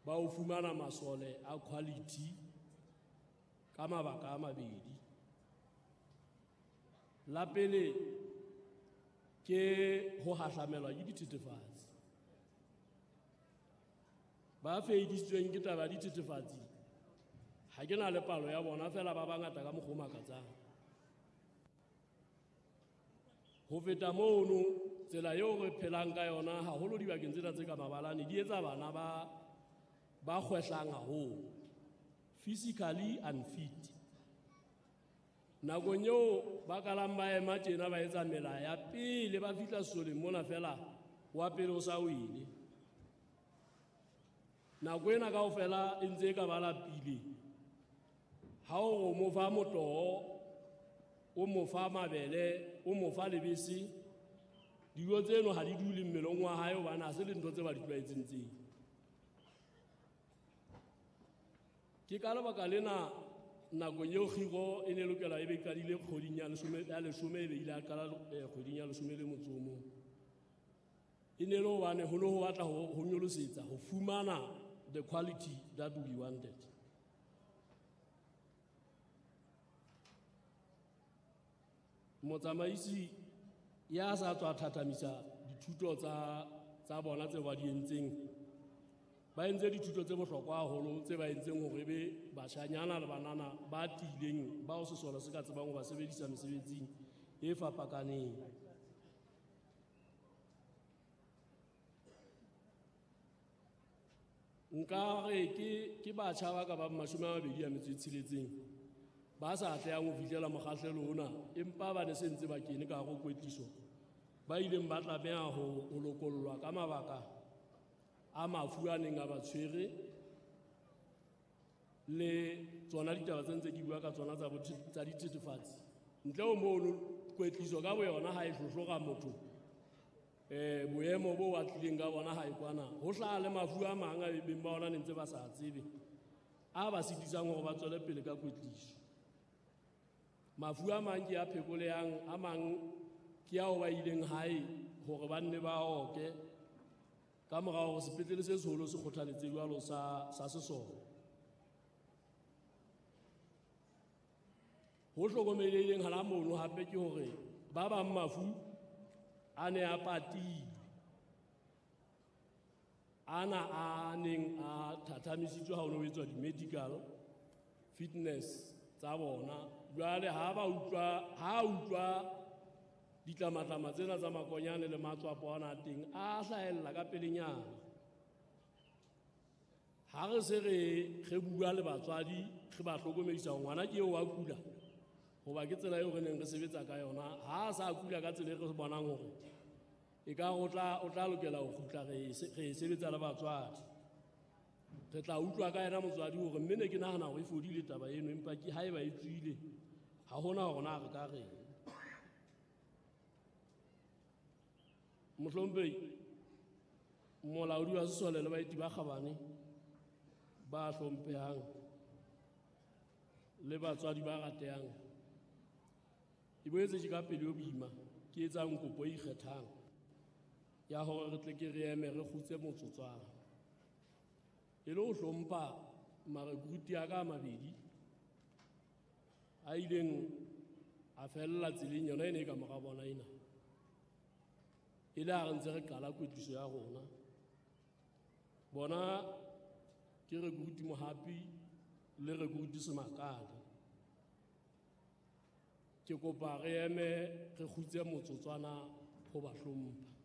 ba ho fumana masole a quality ka mabaka a mabedi. La pele ke ho hahlamelwa ke dithethefatsi. Ba feidisitsweng ke taba ya dithethefatsi ha ke na le palo ya bona fela ba bangata ka mokgwa o makatsang. Ho feta mono, tsela eo re phelang ka yona haholo dibakeng tsena tse ka mabalane di etsa bana ba kgwehlang haholo, physically unfit. Nakong eo ba kalang ba ema tjena ba etsa mela ya pele ba fihla sesoleng mona fela wa pele o sa wele. Nako ena kaofela e ntse e ka ba lapile. Ha o mo fa motoho, o mo fa mabele, o mo fa lebese, dijo tseno ha di dule mmeleng wa hae hobane ha se le ntho tse ba di tlwaetseng tseo. Ke ka lebaka lena nakong eo kgiro e ne lokela e be qadile kgweding ya leshome e be ile a qala kgweding ya leshome le motso o mong. E ne le hobane ho ne ho batla ho nyolosetsa ho fumana the quality that we wanted. Motsamaisi ya sa tswa thathamisa dithuto tsa bona tse ba di entseng, ba entse dithuto tse bohlokwa haholo tse ba entseng hore ebe bashanyana le banana ba tiileng bao sesole se ka tsebang ho ba sebedisa mesebetsing e fapakaneng. Nka re ke batjha ba ka bang 26 ba sa atlehang ho fihlela mokgahlelo ona, empa ba ne se ntse ba kene ka hare ho kwetliso, ba ileng ba tlameha ho lokollwa ka mabaka a mafu a neng a ba tshwere le tsona ditaba tse ntse ke bua ka tsona tsa dithethefatsi. Ntle ho mono, kwetliso ka boyona ha e hlohlora motho boemo bo a tlileng ka bona ha e kwana, ho hlaha le mafu a mang a beng ba ona ne ntse ba sa tsebe a ba sitisang hore ba tswele pele ka kwetliso. Mafu a mang ke a phekolehang, a mang ke ao ba ileng hae hore ba nne ba oke ka mora hore sepetlele se seholo se kgothaletse jwalo sa sesole. Ho hlokomelehileng hana mono hape ke hore ba bang mafu a ne a patilwe, ana a neng a thathamisitswe ha ho ne ho etswa di-medical fitness tsa bona. Jwale ha utlwa ditlamatlama tsena tsa makonyane le matswapo ana a teng a hlahella ka pelenyana. Ha re se re bua le batswadi, re ba hlokomedisa hore ngwana ke eo wa kula, hoba ke tsela eo re neng re sebetsa ka yona. Ha a sa kula ka tsela e re bonang hore e ka o tla lokela ho kgutla, re e sebetsa le batswadi. Re tla utlwa ka yena motswadi hore mme ne ke nahana hore e fodile taba eno, empa ke haeba e tswile ha hona hore na re ka reng. Mohlomphehi molaodi wa sesole le baeti ba kgabane ba hlomphehang le batswadi ba ratehang, e boetse ke ka pelo e boima ke etsang kopo e ikgethang ya hore re tle ke re eme re kgutse motsotswana e le ho hlompha marekruti a ka a mabedi a ileng a fella tseleng yona e ne e ka mora bona ena, e le ha re ntse re qala kwetliso ya rona. Bona ke rekruti Mohapi le rekruti Semakale. Ke kopa re eme re kgutse motsotswana ho ba hlompha.